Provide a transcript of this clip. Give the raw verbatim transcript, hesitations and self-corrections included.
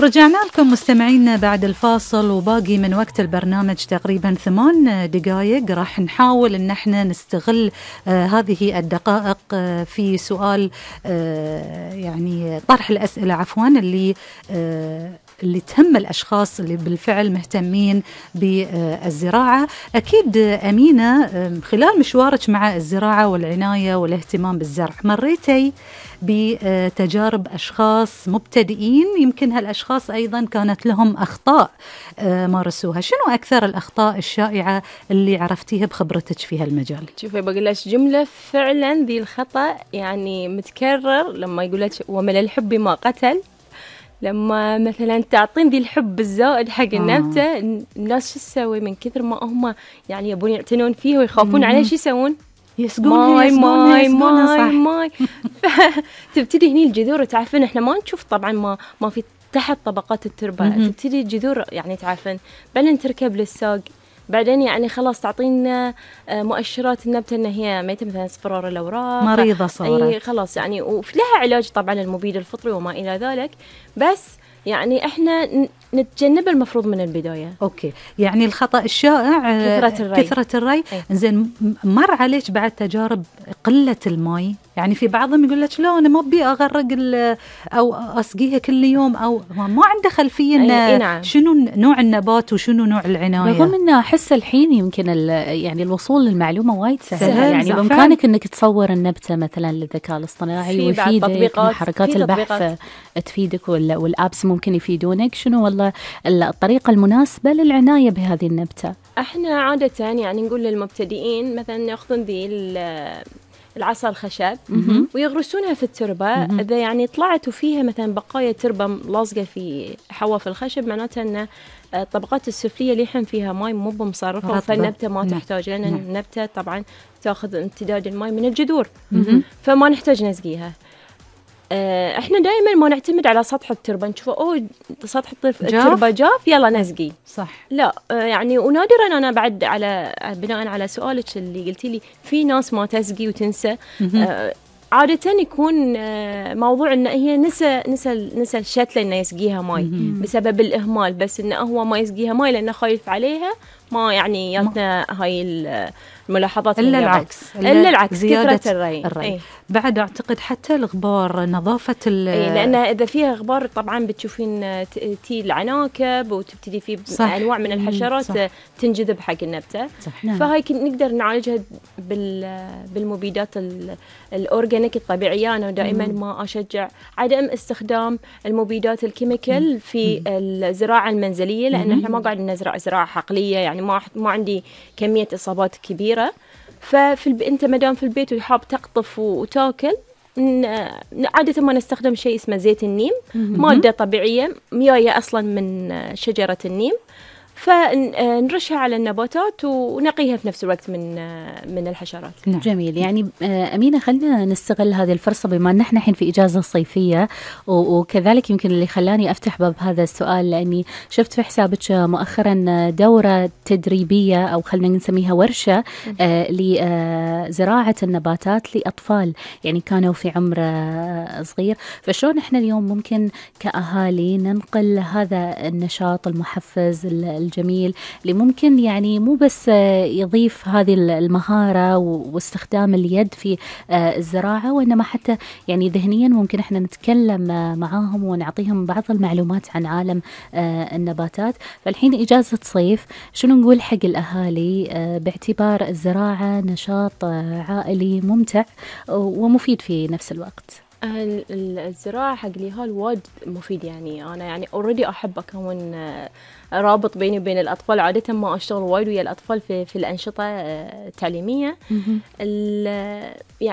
رجعنا لكم مستمعينا بعد الفاصل، وباقي من وقت البرنامج تقريبا ثمان دقائق. راح نحاول ان احنا نستغل آه هذه الدقائق آه في سؤال آه يعني طرح الأسئلة عفوا اللي آه اللي تهم الأشخاص اللي بالفعل مهتمين بالزراعة. أكيد أمينة خلال مشوارك مع الزراعة والعناية والاهتمام بالزرع مريتي بتجارب أشخاص مبتدئين، يمكن هالأشخاص أيضا كانت لهم أخطاء مارسوها. شنو أكثر الأخطاء الشائعة اللي عرفتيها بخبرتك في هالمجال؟ شوفي بقول لك جملة فعلا ذي الخطأ يعني متكرر، لما يقول لك ومن الحب ما قتل. لما مثلا تعطين ذي الحب الزائد حق النبتة آه. الناس شو تسوي من كثر ما هم يعني يبون يعتنون فيه ويخافون عليه، شو يسوون؟ يسقونها ماي يسقونها ماي يسقونها ماي ماي تبتدي هني الجذور. تعرفين احنا ما نشوف طبعا ما ما في تحت طبقات التربة، تبتدي الجذور يعني تعرفين بعدين تركب للساق، بعدين يعني خلاص تعطينا مؤشرات النبتة ان هي ميتة، مثلا اصفرار الاوراق، مريضة صارت، اي خلاص يعني. ولها علاج طبعا المبيد الفطري وما الى ذلك، بس يعني احنا نتجنب المفروض من البداية. اوكي، يعني الخطأ الشائع كثرة الري. كثرة الري. زين، مر عليك بعد تجارب قلة الماء؟ يعني في بعضهم يقول لك لا انا ما ابي اغرق او اسقيها كل يوم، او ما عنده خلفيه نعم. شنو نوع النبات وشنو نوع العنايه. رغم ان احس الحين يمكن يعني الوصول للمعلومه وايد سهل, سهل يعني بامكانك انك تصور النبته مثلا للذكاء الاصطناعي ويفيدك، حركات البحث تفيدك والابس ممكن يفيدونك. شنو والله الطريقه المناسبه للعنايه بهذه النبته؟ احنا عاده يعني نقول للمبتدئين مثلا ياخذون ذي العصا الخشب ويغرسونها في التربة. مم. إذا يعني طلعت وفيها مثلا بقايا تربة لاصقة في حواف الخشب، معناته أن الطبقات السفلية اللي يحن فيها ماء مو بمصرفة، فالنبتة ما نعم. تحتاج، لأن نعم. النبتة طبعا تأخذ امتداد الماء من الجذور، مم. فما نحتاج نسقيها. احنا دائما ما نعتمد على سطح التربه، نشوف اوه سطح التربه جاف يلا نسقي، صح. لا يعني ونادرا انا بعد على بناء على سؤالك اللي قلتي لي في ناس ما تسقي وتنسى. آه عاده يكون موضوع ان هي نسى نسى نسى الشتله انه يسقيها ماي بسبب الاهمال، بس انه هو ما يسقيها ماي لانه خايف عليها، ما يعني ياتنا هاي الملاحظات. الا العكس، الا العكس كثره الري, الري. ايه؟ بعد اعتقد حتى الغبار، نظافه ال ايه، لان اذا فيها غبار طبعا بتشوفين تي العناكب وتبتدي في انواع من الحشرات صح. تنجذب حق النبته. صح. فهاي نقدر نعالجها بالمبيدات الاورجانيك الطبيعيه. انا دائما مم. ما اشجع عدم استخدام المبيدات الكيميكال مم. في الزراعه المنزليه، لان احنا ما قاعد نزرع زراعه حقليه، يعني ما ما عندي كميه اصابات كبيره. ففي الب... انت مدام في البيت وحاب تقطف وتاكل، عادة ما نستخدم شيء اسمه زيت النيم، مادة طبيعية مياية أصلا من شجرة النيم، فنرشها على النباتات ونقيها في نفس الوقت من من الحشرات. نعم. جميل. يعني أمينة خلينا نستغل هذه الفرصة بما أن احنا الحين في إجازة صيفية، وكذلك يمكن اللي خلاني أفتح باب هذا السؤال لأني شفت في حسابك مؤخرا دورة تدريبية أو خلينا نسميها ورشة آه لزراعة النباتات لأطفال يعني كانوا في عمر صغير. فشلون احنا اليوم ممكن كأهالي ننقل هذا النشاط المحفز الجميل اللي ممكن يعني مو بس يضيف هذه المهارة واستخدام اليد في الزراعة، وإنما حتى يعني ذهنيا ممكن احنا نتكلم معاهم ونعطيهم بعض المعلومات عن عالم النباتات. فالحين إجازة صيف، شنو نقول حق الأهالي باعتبار الزراعة نشاط عائلي ممتع ومفيد في نفس الوقت؟ الزراعة حق اليهال وايد مفيد. يعني أنا يعني أوريدي أحب أكون رابط بيني وبين الأطفال. عادة ما أشتغل وايد ويا الأطفال في في الأنشطة التعليمية. يعني